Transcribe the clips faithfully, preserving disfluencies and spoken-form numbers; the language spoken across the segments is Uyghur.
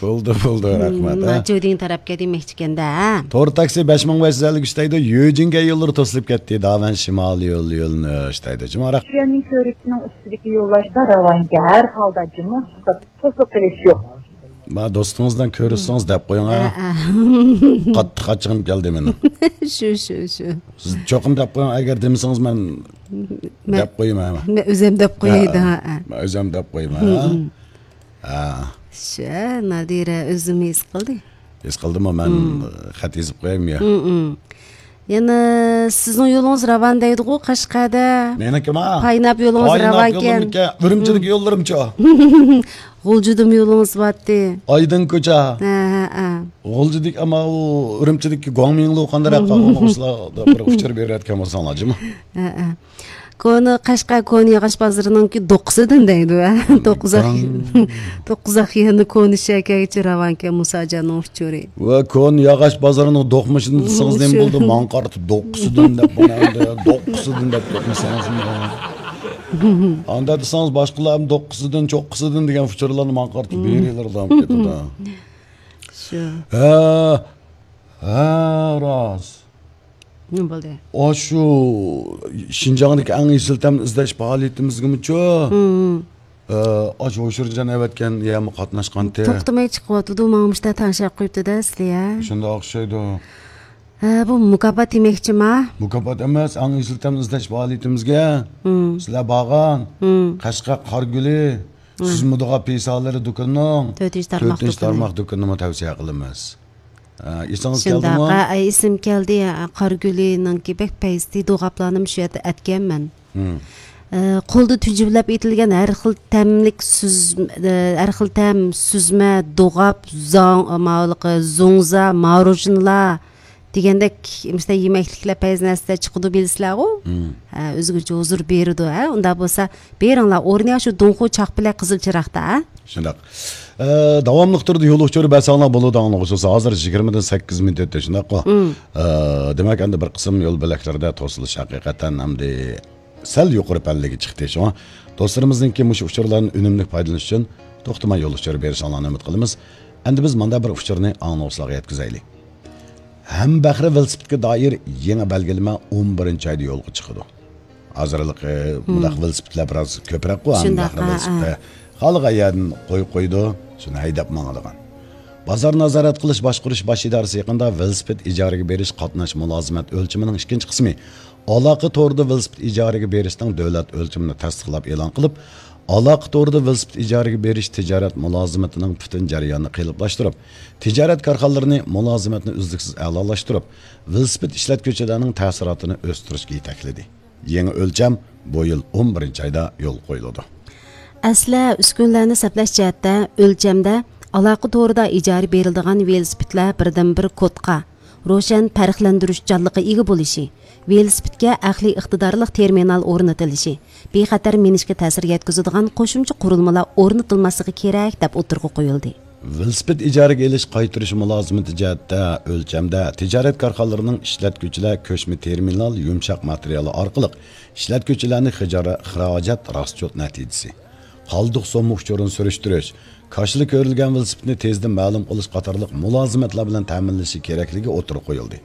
بولدى، بولدى، رەھمەت، ھە. جۇدىڭ تەرەپكە دېمەكچىكەندە، ھە. تور تاكسى بەش مىڭ بەش يۈز ئەللىك ئۈچ دەيدۇ، يۈجىنگەي يوللىرى توسۇلۇپ كەتتى، داۋەن شىمالىي يول يۆنىلىش دەيدۇ. جۇماراق. شىيەننىڭ كۆۋرۈكىنىڭ ئۈستىدىكى يوللاشتا راۋانكە ھەر ھالدا جۇمۇ توسۇق قېلىش يوق. ما دوستىڭىزدىن كۆرۈشسىڭىز دەپ قويۇڭ، ھە. قاتتىق ئاچچىقىم كەلدى مېنىڭ. شۇ، شۇ، شۇ. سىز چوقۇم دەپ قويۇڭ، ئەگەر دېمىسىڭىز مەن دەپ قويىمەن، ھە. مەن ئۆزۈم دەپ قوياي، ھە. مەن ئۆزۈم دەپ قويىمەن، ھە. ھە. شۇ، نادىرە ئۆزىمۇ ھېس قىلدى. ھېس قىلدىمۇ، مەن خەت يېزىپ قويايمۇ يا؟ يەنە سىزنىڭ يولىڭىز راۋان دەيدىغۇ قەشقەردە. مېنىڭكىما؟ پايناپ يولىڭىز راۋانكەن. ئۈرۈمچىدىكى يوللىرىمچۇ؟ غۇلجىدىمۇ يولىڭىز بارتى. ئايدىڭ كوچا. ھە، ھە، ھە. غۇلجىدىكى، ئەمما ئۇ ئۈرۈمچىدىكى گۇاڭمىڭلۇ قانداق قالغان، بىر ئۇچۇر بېرىۋەتكەن بولساڭلار جۇمۇ. ھە، ھە. كونا قەشقەر، كونا ياغاچ بازىرىنىڭكى دوققۇزىدىن دەيدۇ، ھە؟ توققۇزاق، توققۇزاق يەنە كونا شەھەرگىچە راۋانكەن مۇساجاننىڭ ئۇچۇرى. ۋە كونا ياغاچ بازىرىنىڭ دوقمۇشىدىن دېسىڭىز نېمە بولدى؟ ماڭا قارىتىپ دوققۇزىدىن دەپ، مانا ئەمدى دوققۇزىدىن دەپ كەتمىسىڭىز. ئاندا دېسىڭىز باشقىلار ھەم دوققۇزىدىن، چوققىسىدىن دېگەن ئۇچۇرلارنى ماڭا قارىتىپ بېرىلىرىدۇ كېتىدۇ. شۇ. ھە، ھە، راست. نېمە بولدى؟ ئاشۇ شىنجاڭدىكى ئەڭ ئېسىل تەمنى ئىزدەش پائالىيىتىمىزگىمۇچۇ؟ ئاشۇ ھوشۇرجان ئەۋەتكەن يەمۇ قاتناشقانتى. توختىماي چىقىۋاتىدۇ، ماڭا مۇشتا تەڭشەپ قويۇپتۇ-دە سىلى، ھە؟ شۇنداق ئوخشايدۇ. ھە، بۇ مۇكاپات دېمەكچىما؟ مۇكاپات ئەمەس، ئەڭ ئېسىل تەمنى ئىزدەش پائالىيىتىمىزگە سىلەر بارغان قەشقەر قارىگۈلى سۈزمە دوغاپ پىسالىرى دۇكىنىنىڭ تۆتىنچى تارماق دۇكىنىنى تەۋسىيە قىلىمىز. ئە، ئېسىڭىز كەلدىمۇ؟ شۇنداق، ئە، ئە، ئېسىم كەلدى. ئە، قارىگۈلىنىڭكى بەك پەيزىتى دوغاپلارنىمۇ شۇ يەردە ئەتكەنمەن. ئە، قولدا تۈجۈۋلەپ ئېتىلگەن ھەر خىل تەملىك سۈز-، ئە، ھەر خىل تەم، سۈزمە، دوغاپ، زاڭ-، ماۋۇلۇقى، زوڭزا، ماروژنىلار دېگەندەك، مۇشۇنداق يېمەكلىكلەر پەيزى نەرسىلەر چىقىدۇ بىلىسىلەرغۇ؟ ھە، ئۆزگىچە ھۇزۇر بېرىدۇ، ھە؟ ئۇنداق بولسا، بېرىڭلار، ئورنى شۇ دۇڭخۇ چاق پىلەك قىزىل چىراغدا، ھە؟ شۇنداق. ئە، داۋاملىق تۈردە يول ئۇچۇرى بەرسەڭلار بولىدۇ، ئاڭلىغۇچىلار. ھازىر يىگىرمىدىن سەككىز مىنۇت ئۆتتى، شۇنداققۇ؟ ئە، دېمەك، ئەمدى بىر قىسىم يول بۆلەكلىرىدە توسۇلۇش ھەقىقەتەن ئەمدى سەل يۇقىرى پەللىگە چىقتى. شۇڭا دوستلىرىمىزنىڭكى مۇشۇ ئۇچۇرلاردىن ئۈنۈملۈك پايدىلىنىش ئۈچۈن توختىماي يول ئۇچۇرى بېرىشىڭلارنى ئۈمىد قىلىمىز. ئەمدى بىز مۇنداق بىر ئۇچۇرنى ئاڭلىغۇچىلارغا يەتكۈزەيلى. ھەمبەھرە ۋېلىسىپىتكە دائىر يېڭى بەلگىلىمە ئون بىرىنچى ئايدا يولغا چىقىدۇ. ھازىرلىقى مۇنداق ۋېلىسىپىتلەر بىراز كۆپرەك قۇ، ھەمبەھرە ۋېلىسىپىتى. خالىغان يەردىن قويۇپ قويىدۇ، شۇنى ھەيدەپ ماڭىدىغان. بازار نازارەت قىلىش باشقۇرۇش باش ئىدارىسى يېقىندا ۋېلىسىپىت ئىجارىگە بېرىش قاتناش مۇلازىمەت ئۆلچىمىنىڭ ئىككىنچى قىسمى، ئالاقە تورىدا ۋېلىسىپىت ئىجارىگە بېرىشنىڭ دۆلەت ئۆلچىمىنى تەستىقلاپ ئېلان قىلىپ، ئالاقە تورىدا ۋېلىسىپىت ئىجارىگە بېرىش تىجارەت مۇلازىمىتىنىڭ پۈتۈن جەريانىنى قېلىپلاشتۇرۇپ، تىجارەت كارخانىلىرىنى مۇلازىمەتنى ئۈزلۈكسىز ئەلالاشتۇرۇپ، ۋېلىسىپىت ئىشلەتكۈچىلەرنىڭ تەسىراتىنى ئۆستۈرۈشكە يېتەكلىدى. يېڭى ئۆلچەم بۇ يىل ئون بىرىنچى ئايدا يولغا قويۇلىدۇ. ئەسلىھە، ئۈسكۈنىلەرنى سەپلەش جەھەتتە ئۆلچەمدە ئالاقە تورىدا ئىجارە بېرىلىدىغان ۋېلىسىپىتلەر بىردىنبىر كودقا، روشەن پەرقلەندۈرۈشچانلىققا ئىگە بولۇشى، ۋېلىسىپىتكە ئەقلىي ئىقتىدارلىق تېرمىنال ئورنىتىلىشى، بىخەتەر مىنىشكە تەسىر يەتكۈزىدىغان قوشۇمچە قۇرۇلمىلار ئورنىتىلماسلىقى كېرەك، دەپ ئوتتۇرىغا قويۇلدى. ۋېلىسىپىت ئىجارىگە ئېلىش قايتۇرۇش مۇلازىمىتى جەھەتتە ئۆلچەمدە تىجارەت كارخانىلىرىنىڭ ئىشلەتكۈچىلەر كۆچمە تېرمىنال يۇمشاق ماتېرىيالى ئارقىلىق ئىشلەتكۈچىلەرنى خىجارە-، خىراجەت راسچوت نەتىجىسى، قالدۇق سومما ئۇچۇرىنى سۈرۈشتۈرۈش، كاشىلا كۆرۈلگەن ۋېلىسىپىتنى تېزدىن مەلۇم قىلىش قاتارلىق مۇلازىمەتلەر بىلەن تەمىنلىشى كېرەكلىكى ئوتتۇرىغا قويۇلدى.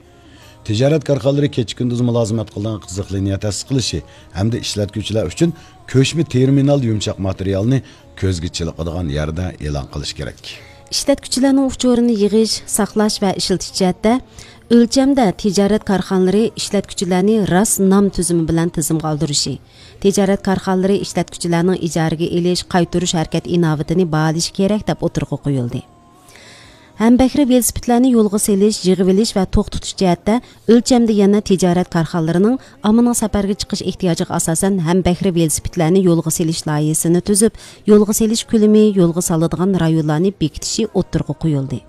تىجارەت كارخانىلىرى كېچە-كۈندۈز مۇلازىمەت قىلىدىغان قىزىق لىنىيە تەسىس قىلىشى ھەمدە ئىشلەتكۈچىلەر ئۈچۈن كۆچمە تېرمىنال يۇمشاق ماتېرىيالنى كۆزگە چېلىقىدىغان يەردە ئېلان قىلىش كېرەك. ئىشلەتكۈچىلەرنىڭ ئۇچۇرىنى يىغىش، ساقلاش ۋە ئىشلىتىش جەھەتتە ئۆلچەمدە تىجارەت كارخانىلىرى ئىشلەتكۈچىلەرنى راست نام تۈزۈمى بىلەن تىزىمغا ئالدۇرۇشى، تىجارەت كارخانىلىرى ئىشلەتكۈچىلەرنىڭ ئىجارىگە ئېلىش، قايتۇرۇش ھەرىكەت ئىناۋىتىنى باھالىشى كېرەك، دەپ ئوتتۇرىغا قويۇلدى. ھەمبەھرە ۋېلىسىپىتلەرنى يولغا سېلىش، يىغىۋېلىش ۋە توختىتىش جەھەتتە ئۆلچەمدە يەنە تىجارەت كارخانىلىرىنىڭ ئاممىنىڭ سەپەرگە چىقىش ئېھتىياجىغا ئاساسەن ھەمبەھرە ۋېلىسىپىتلەرنى يولغا سېلىش لايىھىسىنى تۈزۈپ، يولغا سېلىش كۆلىمى، يولغا سالىدىغان رايونلارنى بېكىتىشى ئوتتۇرىغا قويۇلدى.